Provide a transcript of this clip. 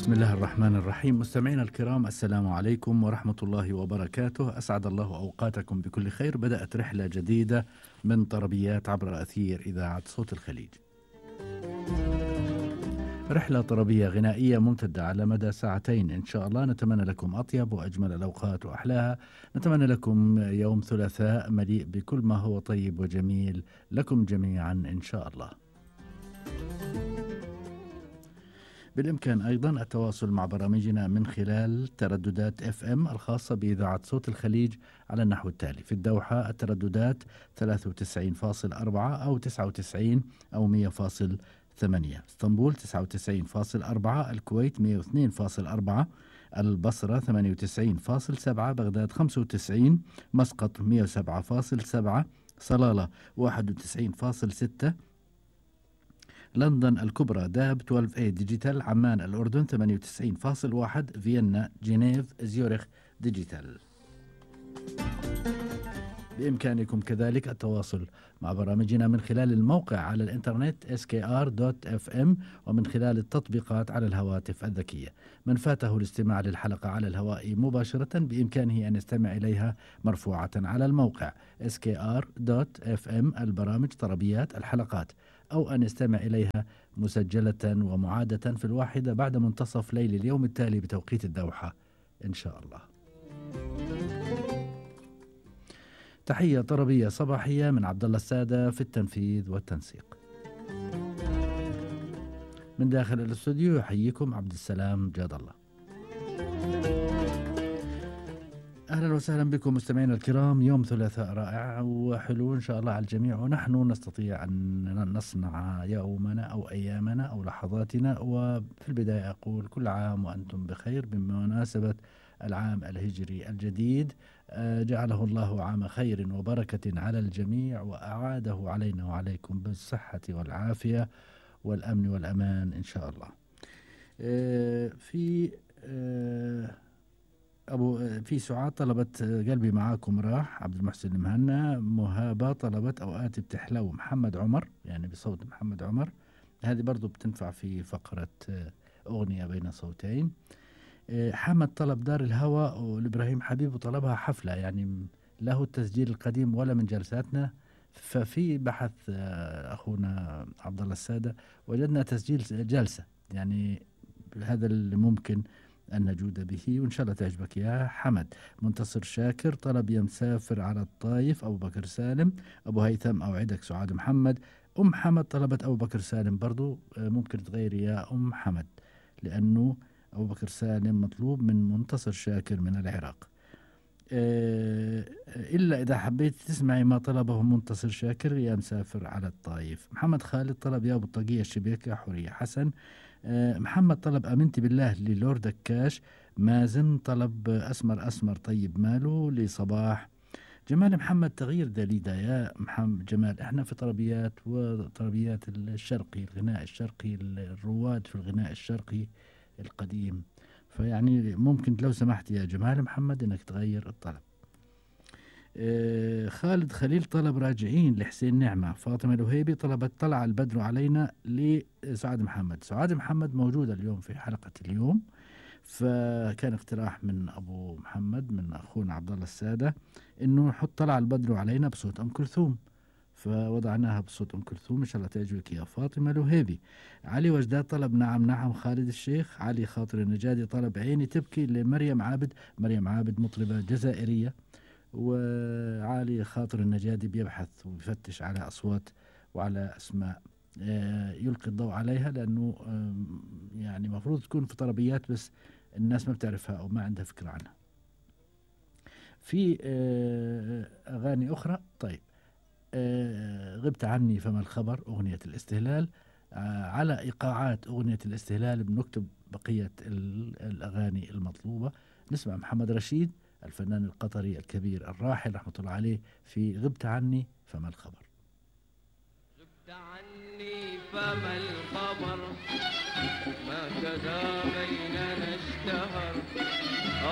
بسم الله الرحمن الرحيم. مستمعينا الكرام، السلام عليكم ورحمة الله وبركاته. أسعد الله أوقاتكم بكل خير. بدأت رحلة جديدة من طربيات عبر أثير إذاعة صوت الخليج. رحلة طربية غنائية ممتدة على مدى ساعتين إن شاء الله. نتمنى لكم أطيب وأجمل الأوقات وأحلاها. نتمنى لكم يوم ثلاثاء مليء بكل ما هو طيب وجميل لكم جميعا إن شاء الله. بالإمكان أيضا التواصل مع برامجنا من خلال ترددات FM الخاصة بإذاعة صوت الخليج على النحو التالي: في الدوحة الترددات 93.4 أو 99 أو 100.8، اسطنبول 99.4، الكويت 102.4، البصرة 98.7، بغداد 95، مسقط 107.7، صلالة 91.6، لندن الكبرى داب 12A ديجيتال، عمان الأردن 98.1، فيينا، جنيف، زيورخ ديجيتال. بإمكانكم كذلك التواصل مع برامجنا من خلال الموقع على الإنترنت skr.fm ومن خلال التطبيقات على الهواتف الذكية. من فاته الاستماع للحلقة على الهواء مباشرة بإمكانه أن يستمع إليها مرفوعة على الموقع skr.fm البرامج طربيات الحلقات، أو أن يستمع إليها مسجلة ومعادة في الواحدة بعد منتصف ليل اليوم التالي بتوقيت الدوحة إن شاء الله. تحية طربية صباحية من عبد الله السادة في التنفيذ والتنسيق. من داخل الاستوديو يحييكم عبد السلام جاد الله. أهلا وسهلا بكم مستمعينا الكرام. يوم ثلاثاء رائع وحلو إن شاء الله على الجميع، ونحن نستطيع أن نصنع يومنا أو أيامنا أو لحظاتنا. وفي البداية أقول كل عام وأنتم بخير بمناسبة العام الهجري الجديد. جعله الله عام خير وبركة على الجميع، وأعاده علينا وعليكم بالصحة والعافية والأمن والأمان إن شاء الله. في سعاد طلبت قلبي معاكم راح، عبد المحسن المهنا، مهابة طلبت أوقات بتحلو، محمد عمر يعني بصوت محمد عمر، هذه برضو بتنفع في فقرة أغنية بين صوتين. حمد طلب دار الهوى، والإبراهيم حبيب طلبها حفلة، يعني له التسجيل القديم ولا من جلساتنا. ففي بحث أخونا عبد الله السادة وجدنا تسجيل جلسة، يعني هذا اللي ممكن أن نجود به، وإن شاء الله تعجبك يا حمد. منتصر شاكر طلب يا مسافر على الطايف، أبو بكر سالم. أبو هيثم أوعدك سعاد محمد. أم حمد طلبت أبو بكر سالم برضو، ممكن تغيري يا أم حمد لأنه أبو بكر سالم مطلوب من منتصر شاكر من العراق. إلا إذا حبيت تسمعي ما طلبه منتصر شاكر يا مسافر على الطايف. محمد خالد طلب يا أبو الطاقية الشبيكة، حورية حسن. محمد طلب أمنتي بالله للورد كاش. مازن طلب أسمر أسمر طيب ماله لصباح. جمال محمد تغيير دليدا يا محمد جمال. احنا في طربيات وطربيات الشرقي، الغناء الشرقي، الرواد في الغناء الشرقي القديم، فيعني ممكن لو سمحت يا جمال محمد انك تغير الطلب. خالد خليل طلب راجعين لحسين نعمة. فاطمة الوهيبي طلبت طلع البدر علينا لسعاد محمد. سعاد محمد موجودة اليوم في حلقة اليوم، فكان اقتراح من أبو محمد من أخونا عبد الله السادة إنه نحط طلع البدر علينا بصوت أم كلثوم، فوضعناها بصوت أم كلثوم. إن شاء الله تعجبك يا فاطمة الوهيبي. علي وجداد طلب نعم نعم خالد الشيخ. علي خاطر النجادي طلب عيني تبكي لمريم عابد. مريم عابد مطربة جزائرية، وعلي خاطر النجادي بيبحث ويفتش على أصوات وعلى أسماء يلقي الضوء عليها، لأنه يعني مفروض تكون في طربيات بس الناس ما بتعرفها أو ما عندها فكرة عنها. في أغاني أخرى. طيب، غبت عني فما الخبر، أغنية الاستهلال. على إيقاعات أغنية الاستهلال بنكتب بقية الأغاني المطلوبة. نسمع محمد رشيد الفنان القطري الكبير الراحل رحمة الله عليه في غبت عني فما الخبر. غبت عني فما الخبر، ما كذا بيننا اشتهر.